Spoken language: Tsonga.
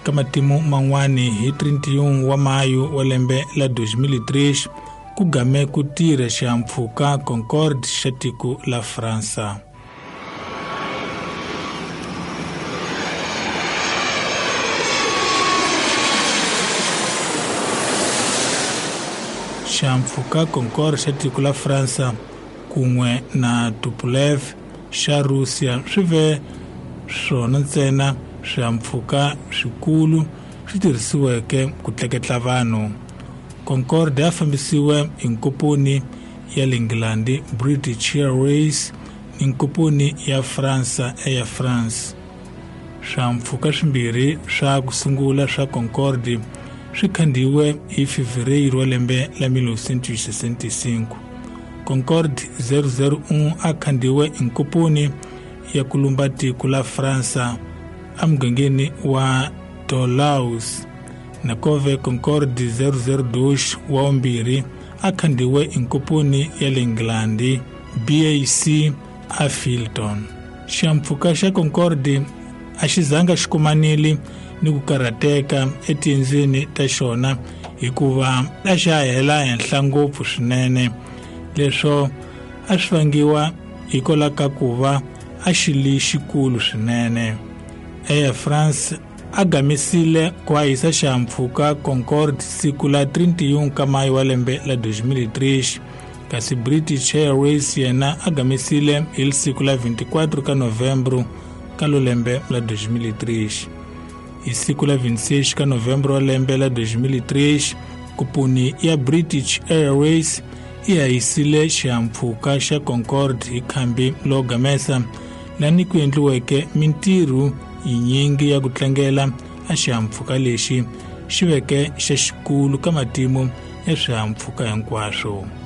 Ka matimu man'wani hi 31 wa mayu wa lembe la 2003 ku game ku tirha xihahampfhuka Concorde xa tiko la Fransa. Xihahampfhuka Concorde xa tiko la Fransa kun'we na Tupolev xa Russia swi ve swona ntsena swihahampfhuka swikulu swi tirhisiweke ku tleketla vanhu. Concorde ya fambisiwe hi nkomponi ya le Nghilandhi British Airways ni nkomponi ya Fransa Air France. Swihahampfhuka swimbirhi swa ku sungula swa Concorde swi khandziyiwe hi Fevereiro wa lembe la 1965. Concorde 001 a khandziyiwe hi nkomponi ya ku lumba tiko la Fransa emugangeni wa Toulouse. Nakove Concorde 002 wa vumbirhi a khandziyiwe hi nkomponi ya le Nghilandhi BAC a Filton. Xihahampfhuka xa Concorde a xi zanga xi kumanile ni ku karhateka etiendzweni ta xona hikuva a xa hela henhla ngopfu swinene. Leswo a swi vangiwa hikwalaho ka ku va a xi li xikulu swinene. Air France a gamisile ku hahisa xihahampfhuka Concorde siku la 31 ka mayi wa lembe la 2003 kasi British Airways yena a gamisile hi siku la 24 ka Novembro ka lo lembe la 2003. Hi siku la 26 ka Novembro wa lembe la 2003 kupuni ya British Airways yi hahisile xihahampfhuka xa Concorde hi khambi lo gamesa lani ku endliweke mintirho yinyingi ya ku tlangela a xihahampfhuka lexi xi veke xa xikulu ka matimu ya swihahampfhuka hinkwaswo.